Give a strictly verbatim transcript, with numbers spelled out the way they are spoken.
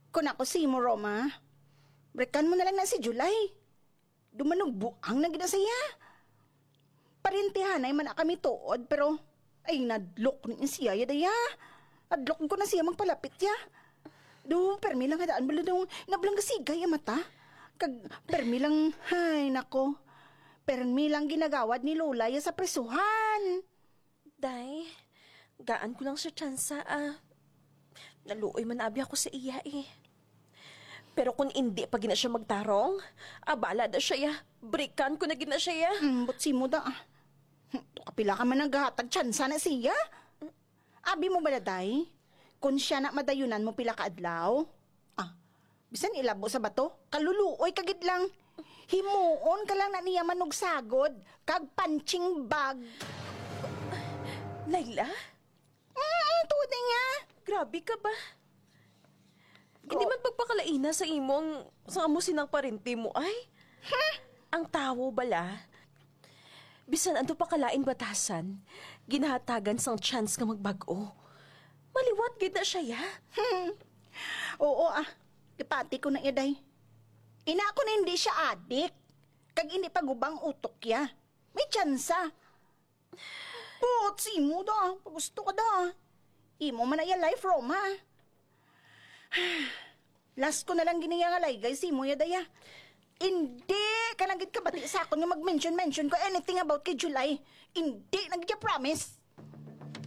Kung ako sa imo, Roma, breakan mo na lang na si July. Dumanugbuang na gid na siya. Parintihanay man na kami tuod, pero ay, nadlok ni siya, ya, daya. Adlok ko na siya magpalapit, ya. Do, permi lang hadaan bala daw nablang kasigay ang mata. Kag permi lang, ay, nako. Permi lang ginagawad ni Lola ya sa prisuhan. Day, gaan ko lang siya tsansa, ah. Naluoy man abi ako sa iya, eh. Pero kung indi pa gina siya magtarong, abala da siya, ya. Brikan ko na gina siya, ya. Mm, but si mo da, ah. Hmm, to kapila ka man naghatag tsansa na siya? Abi mo bala, day? Kung siya na madayunan mo pila ka adlaw? Ah, bisan ilabo sa bato, kaluluoy ka gid lang. Himuon ka lang na niya manugsagod, kag punching bag. Laila? Mm, tuod na niya. Grabe ka ba? Hindi man pagpakalaina sa imo ang, sa amo sinang parente mo, ay? Huh? Ang tawo bala, bisan ano pa kalain batasan, ginahatagan sang chance nga magbag-o. Maliwat gid na siya, ya. Hmm. Oo, ah. Gipati ko na iya, day. Ina ko na hindi siya adik. Kag hindi pa gubang utok, ya. May tsansa. Buot si imo da. Pagusto ka da. Imo man na iya life, Roma. Last ko na lang giniya nga laygay si imo, ya, daya. Hindi ka na gid kabati sa akon nga mag-mention-mention ko anything about kay July. Hindi na gid ya, promise.